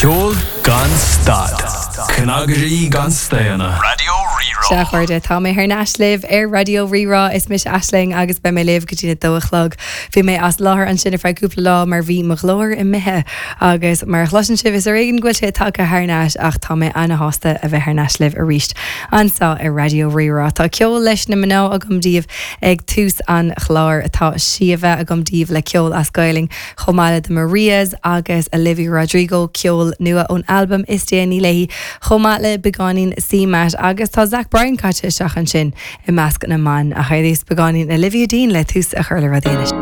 Ceol gan stad. Cnagairí gan staonadh. Raidió Rí-Rá. Sea, a chairde, tá mé thar n-ais libh ar Raidió Rí-Rá. Is mise Aisling agus beidh mé libh go dtí a dó a chlog. Bhí mé as láthair ansin ar feadh cúpla lá mar bhí mo ghlór imithe agus mar a chloiseann sibh is ar éigean go bhfuil sé tagtha thar n-ais ach tá mé ana-shásta a bheith thar n-ais libh arís anseo ar Raidió Rí-Rá. Tá ceol leis na mná agam daoibh ag tús an chláir. Tá Síomha agam daoibh le ceol as Gaelainn chomh maith le The Marias agus Olivia Rodrigo, ceol nua ón albam is déanaí léi, chomh maith le beagáinín CMAT agus tá Zach Bryan caite isteach ansin i measc na mban. Ach ar dtús beagáinín Olivia Dean le tús a chur le rudaí anois.